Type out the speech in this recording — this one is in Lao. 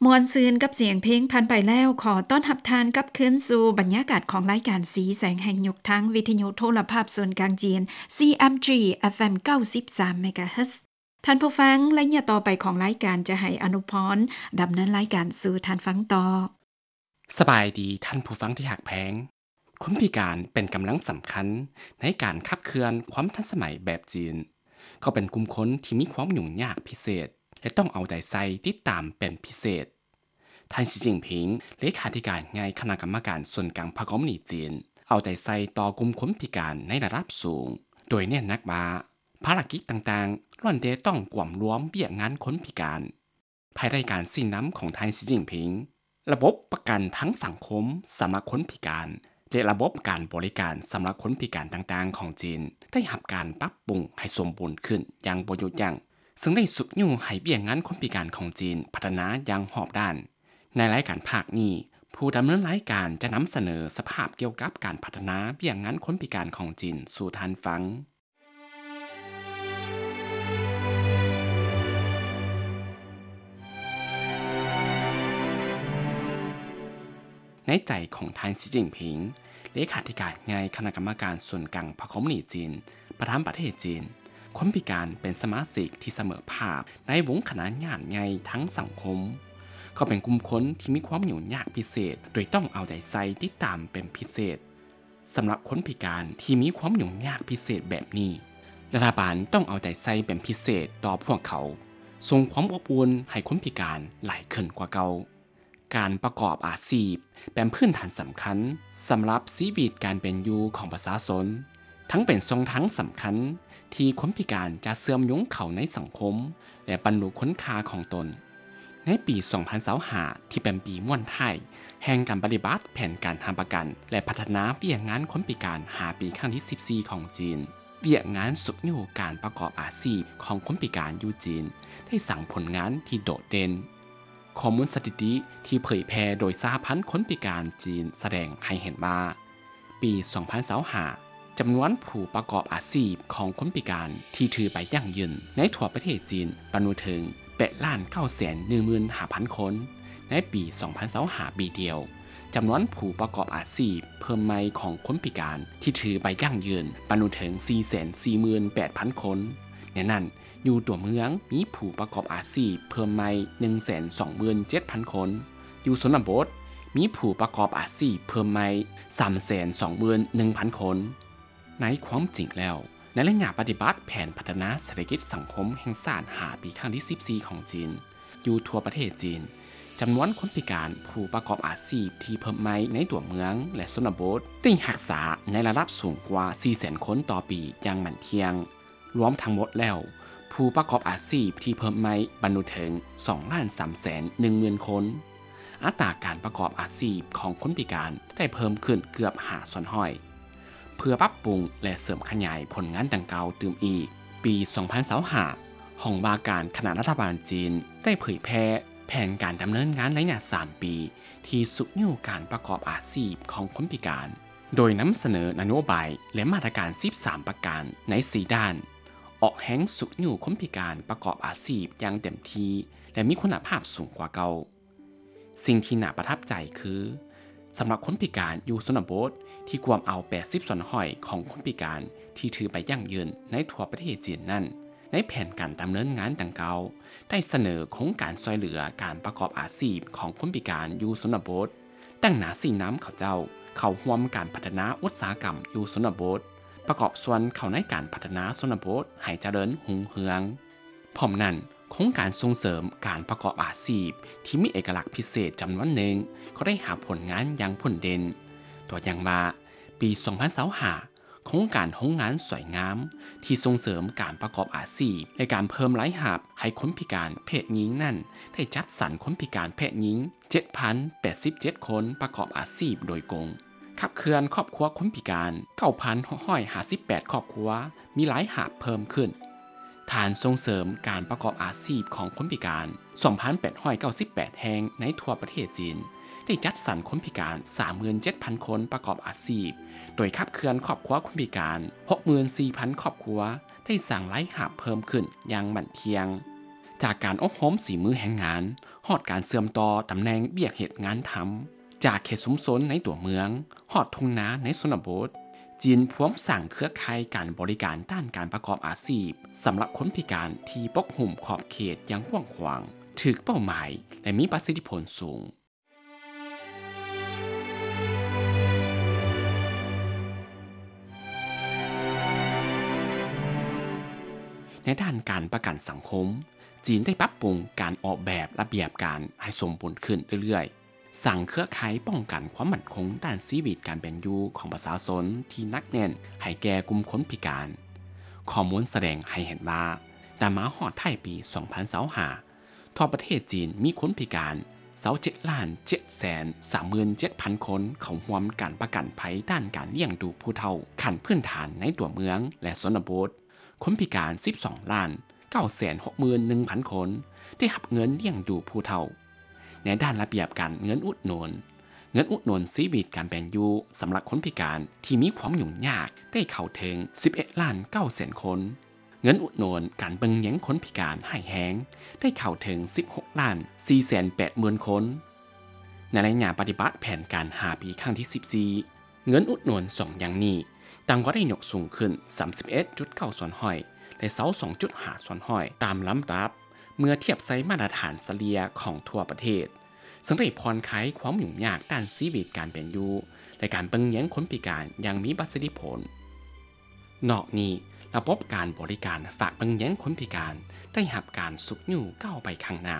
ມ່ວນຊື່ນກັບສຽງເພງຜ່ານໄປແລ້ວ, ຂໍຕ້ອນຮັບທ່ານກັບຄືນສູ່ບັນຍາກາດຂອງລາຍການສີແສງແຫ່ງຍຸກ ທາງວິທະຍຸໂທລະພາບສ່ວນກາງຈີນ CMG FM ເກົ້າສິບສາມ MHz. ທ່ານຜູ້ຟັງ, ໄລຍະຕໍ່ໄປຂອງລາຍການຈະໃຫ້ອະນຸພອນດຳເນີນລາຍການສູ່ທ່ານຟັງຕໍ່. ສະບາຍດີທ່ານຜູ້ຟັງທີ່ຮັກແພງ. ຄົນພິການເປັນກຳລັງສຳຄັນໃນການຂັບເຄື່ອນຄວາມທັນສະໄໝແບບຈີນ. ເຂົາເປັນກຸ່ມຄົນທີ່ມີຄວາມຫຍຸ້ງຍາກພິເສດ ແລະ ຕ້ອງເອົາໃຈໃສ່ຕິດຕາມເປັນພິເສດ. ທ່ານ ສີ ຈິ້ນຜິງ, ເລຂາທິການໃຫຍ່ຄະນະກຳມະການສູນກາງພັກຄອມມູນິດຈີນ, ເອົາໃຈໃສ່ຕໍ່ກຸ່ມຄົນພິການໃນລະດັບສູງ, ໂດຍເນັ້ນໜັກວ່າ ພາລະກິດຕ່າງໆ ລ້ວນແຕ່ຕ້ອງກວມລວມວຽກງານຄົນພິການ. ພາຍໃຕ້ການຊີ້ນຳຂອງທ່ານ ສີ ຈິ້ນຜິງ, ລະບົບປະກັນທັງສັງຄົມສຳລັບຄົນພິການ ແລະ ລະບົບການບໍລິການສຳລັບຄົນພິການຕ່າງໆຂອງຈີນ ໄດ້ຮັບການປັບປຸງໃຫ້ສົມບູນຂຶ້ນຢ່າງບໍ່ຢຸດຢັ້ງ, ເຊິ່ງໄດ້ຊຸກຍູ້ໃຫ້ວຽກງານຄົນພິການຂອງຈີນພັດທະນາຢ່າງຮອບດ້ານ. ໃນລາຍການພາກນີ້, ຜູ້ດຳເນີນລາຍການຈະນຳສະເໜີສະພາບກ່ຽວກັບການພັດທະນາວຽກງານຄົນພິການຂອງຈີນສູ່ທ່ານຟັງ. ໃນໃຈຂອງທ່ານ ສີ ຈິ້ນຜິງ, ເລຂາທິການໃຫຍ່ຄະນະກຳມະການສູນກາງພັກຄອມມູນິດຈີນ, ປະທຳປະເທດຈີນ, ຄົນພິການເປັນສະມາຊິກທີ່ສະເໝີພາບໃນວົງຄະນະຍາດໃຫຍ່ທາງສັງຄົມ. ເຂົາເປັນກຸ່ມຄົນທີ່ມີຄວາມຫຍຸ້ງຍາກພິເສດ ໂດຍຕ້ອງເອົາໃຈໃສ່ຕິດຕາມເປັນພິເສດ. ສຳລັບຄົນພິການທີ່ມີຄວາມຫຍຸ້ງຍາກພິເສດແບບນີ້, ລັດຖະບານຕ້ອງເອົາໃຈໃສ່ເປັນພິເສດຕໍ່ພວກເຂົາ, ສົ່ງຄວາມອົບອຸ່ນໃຫ້ຄົນພິການຫຼາຍຂຶ້ນກວ່າເກົ່າ. ການປະກອບອາຊີບເປັນພື້ນຖານສຳຄັນສຳລັບຊີວິດການເປັນຢູ່ຂອງປະຊາຊົນ, ທັງເປັນຊ່ອງທາງສຳຄັນທີ່ຄົນພິການຈະເຊື່ອມໂຍງເຂົ້າໃນສັງຄົມ ແລະ ບັນລຸຄຸນຄ່າຂອງຕົນ. ໃນປີສອງພັນຊາວຫ້າ ທີ່ເປັນປີມ້ວນທ້າຍແຫ່ງການປະຕິບັດແຜນການຮັບປະກັນ ແລະ ພັດທະນາວຽກງານຄົນພິການຫ້າປີຄັ້ງທີສິບສີ່ຂອງຈີນ, ວຽກງານຊຸກຍູ້ການປະກອບອາຊີບຂອງຄົນພິການຢູ່ຈີນ ໄດ້ສ້າງຜົນງານທີ່ໂດດເດັ່ນ. ຂໍ້ມູນສະຖິຕິທີ່ເຜີຍແຜ່ໂດຍສະຫະພັນຄົນພິການຈີນສະແດງໃຫ້ເຫັນວ່າ, ປີສອງພັນຊາວຫ້າ ຈຳນວນຜູ້ປະກອບອາຊີບຂອງຄົນພິການທີ່ຖືໃບຢັ້ງຢືນໃນທົ່ວປະເທດຈີນບັນລຸເຖິງແປດລ້ານເກົ້າແສນໜຶ່ງໝື່ນຫ້າພັນຄົນ. ໃນປີສອງພັນຊາວຫ້າປີດຽວ, ຈຳນວນຜູ້ປະກອບອາຊີບເພີ່ມໃໝ່ຂອງຄົນພິການທີ່ຖືໃບຢັ້ງຢືນບັນລຸເຖິງສີ່ແສນສີ່ໝື່ນແປດພັນຄົນ. ໃນນັ້ນ, ຢູ່ຕົວເມືອງມີຜູ້ປະກອບອາຊີບເພີ່ມໃໝ່ໜຶ່ງແສນສອງໝື່ນເຈັດພັນຄົນ, ຢູ່ຊົນນະບົດມີຜູ້ປະກອບອາຊີບເພີ່ມໃໝ່ສາມແສນສອງໝື່ນໜຶ່ງພັນຄົນ. ໃນຄວາມຈິງແລ້ວ, ໃນໄລຍະປະຕິບັດແຜນພັດທະນາເສດຖະກິດສັງຄົມແຫ່ງຊາດຫ້າປີຄັ້ງທີສິບສີ່ຂອງຈີນ, ຢູ່ທົ່ວປະເທດຈີນ, ຈຳນວນຄົນພິການຜູ້ປະກອບອາຊີບທີ່ເພີ່ມໃໝ່ໃນຕົວເມືອງ ແລະ ຊົນນະບົດ ໄດ້ຮັກສາໃນລະດັບສູງກວ່າສີ່ແສນຄົນຕໍ່ປີຢ່າງໝັ້ນທ່ຽງ. ລວມທັງໝົດແລ້ວ, ຜູ້ປະກອບອາຊີບທີ່ເພີ່ມໃໝ່ບັນລຸເຖິງສອງລ້ານສາມແສນໜຶ່ງໝື່ນຄົນ. ອັດຕາການປະກອບອາຊີບຂອງຄົນພິການໄດ້ເພີ່ມຂຶ້ນເກືອບຫ້າສ່ວນຮ້ອຍ. ເພື່ອປັບປຸງ ແລະ ເສີມຂະຫຍາຍຜົນງານດັ່ງກ່າວຕື່ມອີກ, ປີສອງພັນຊາວຫ້າ ຫ້ອງວ່າການຄະນະລັດຖະບານຈີນໄດ້ເຜີຍແຜ່ແຜນການດຳເນີນງານໄລຍະສາມປີ ທີ່ຊຸກຍູ້ການປະກອບອາຊີບຂອງຄົນພິການ, ໂດຍນຳສະເໜີນະໂຍບາຍ ແລະ ມາດຕະການສິບສາມປະການໃນສີ່ດ້ານ, ອອກແຮງຊຸກຍູ້ຄົນພິການປະກອບອາຊີບຢ່າງເຕັມທີ່ ແລະ ມີຄຸນນະພາບສູງກວ່າເກົ່າ. ສິ່ງທີ່ໜ້າປະທັບໃຈຄື, ສຳລັບຄົນພິການຢູ່ຊົນນະບົດທີ່ກວມເອົາແປດສິບສ່ວນຮ້ອຍຂອງຄົນພິການທີ່ຖືໃບຢັ້ງຢືນໃນທົ່ວປະເທດຈີນນັ້ນ, ໃນແຜນການດຳເນີນງານດັ່ງກ່າວ ໄດ້ສະເໜີໂຄງການຊ່ວຍເຫຼືອການປະກອບອາຊີບຂອງຄົນພິການຢູ່ຊົນນະບົດ, ຕັ້ງໜ້າຊີ້ນຳເຂົາເຈົ້າເຂົ້າຮ່ວມການພັດທະນາອຸດສາຫະກຳຢູ່ຊົນນະບົດ, ປະກອບສ່ວນເຂົ້າໃນການພັດທະນາຊົນນະບົດໃຫ້ຈະເລີນຮຸ່ງເຮືອງ. ພ້ອມນັ້ນ, ໂຄງການສົ່ງເສີມການປະກອບອາຊີບທີ່ມີເອກະລັກພິເສດຈຳນວນໜຶ່ງກໍໄດ້ຮັບຜົນງານຢ່າງໂດດເດັ່ນ. ຕົວຢ່າງວ່າ, ປີສອງພັນຊາວຫ້າ ໂຄງການໂຮງງານສວຍງາມທີ່ສົ່ງເສີມການປະກອບອາຊີບ ແລະ ການເພີ່ມລາຍຮັບໃຫ້ຄົນພິການເພດຍິງນັ້ນ ໄດ້ຈັດສັນຄົນພິການເພດຍິງເຈັດພັນແປດສິບເຈັດຄົນປະກອບອາຊີບໂດຍກົງ, ຂັບເຄື່ອນຄອບຄົວຄົນພິການເກົ້າພັນຫົກຮ້ອຍຫ້າສິບແປດຄອບຄົວ ມີລາຍຮັບເພີ່ມຂຶ້ນ. ຖານສົ່ງເສີມການປະກອບອາຊີບຂອງຄົນພິການສອງພັນແປດຮ້ອຍເກົ້າສິບແປດແຫ່ງໃນທົ່ວປະເທດຈີນ ໄດ້ຈັດສັນຄົນພິການສາມໝື່ນເຈັດພັນຄົນປະກອບອາຊີບ, ໂດຍຂັບເຄື່ອນຄອບຄົວຄົນພິການຫົກໝື່ນສີ່ພັນຄອບຄົວ ໄດ້ສ້າງລາຍຮັບເພີ່ມຂຶ້ນຢ່າງໝັ້ນທ່ຽງ. ຈາກການອົບຮົມສີມືແຮງງານ ຮອດການເຊື່ອມຕໍ່ຕຳແໜ່ງວຽກເຮັດງານທຳ, ຈາກເຂດຊຸມຊົນໃນຕົວເມືອງ ຮອດທົ່ງນາໃນຊົນນະບົດ, ຈີນພວມສ້າງເຄືອຂ່າຍການບໍລິການດ້ານການປະກອບອາຊີບ ສຳລັບຄົນພິການທີ່ປົກຫຸ້ມຂອບເຂດຢ່າງກວ້າງຂວາງ, ຖືກເປົ້າໝາຍ ແລະ ມີປະສິດທິຜົນສູງ. ໃນດ້ານການປະກັນສັງຄົມ, ຈີນໄດ້ປັບປຸງການອອກແບບລະບຽບການໃຫ້ສົມບູນຂຶ້ນເລື້ອຍໆ, ສ້າງເຄືອຂ່າຍປ້ອງກັນຄວາມໝັ້ນຄົງດ້ານຊີວິດການເປັນຢູ່ຂອງປະຊາຊົນທີ່ໜັກແໜ້ນໃຫ້ແກ່ກຸ່ມຄົນພິການ. ຂໍ້ມູນສະແດງໃຫ້ເຫັນວ່າ, ນຳມາຮອດທ້າຍປີສອງພັນຊາວຫ້າ, ທົ່ວປະເທດຈີນມີຄົນພິການຊາວເຈັດລ້ານເຈັດແສນສາມໝື່ນເຈັດພັນຄົນເຂົ້າຮ່ວມການປະກັນໄພດ້ານການລ້ຽງດູຜູ້ເຖົ້າຂັ້ນພື້ນຖານໃນຕົວເມືອງ ແລະ ຊົນນະບົດ, ຄົນພິການສິບສອງລ້ານເກົ້າແສນຫົກໝື່ນໜຶ່ງພັນຄົນໄດ້ຮັບເງິນລ້ຽງດູຜູ້ເຖົ້າ. ໃນດ້ານລະບຽບການເງິນອຸດໜູນ, ເງິນອຸດໜູນຊີວິດການເປັນຢູ່ສຳລັບຄົນພິການທີ່ມີຄວາມຫຍຸ້ງຍາກໄດ້ເຂົ້າເຖິງສິບເອັດລ້ານເກົ້າແສນຄົນ. ເງິນອຸດໜູນການເບິ່ງແຍງຄົນພິການຮ້າຍແຮງໄດ້ເຂົ້າເຖິງສິບຫົກລ້ານສີ່ແສນແປດໝື່ນຄົນ. ໃນໄລຍະປະຕິບັດແຜນການຫ້າປີຄັ້ງທີສິບສີ່, ເງິນອຸດໜູນສອງຢ່າງນີ້ ຕ່າງກໍໄດ້ຍົກສູງຂຶ້ນສາມສິບເອັດຈຸດເກົ້າສ່ວນຮ້ອຍ ແລະ ຊາວສອງຈຸດຫ້າສ່ວນຮ້ອຍຕາມລຳດັບ ເມື່ອທຽບໃສ່ມາດຕະຖານສະເລ່ຍຂອງທົ່ວປະເທດ, ເຊິ່ງໄດ້ຜ່ອນຄາຍຄວາມຫຍຸ້ງຍາກດ້ານຊີວິດການເປັນຢູ່ ແລະ ການເບິ່ງແຍງຄົນພິການຢ່າງມີປະສິດທິຜົນ. ນອກນີ້, ລະບົບການບໍລິການຝາກເບິ່ງແຍງຄົນພິການໄດ້ຮັບການຊຸກຍູ້ກ້າວໄປຂ້າງໜ້າ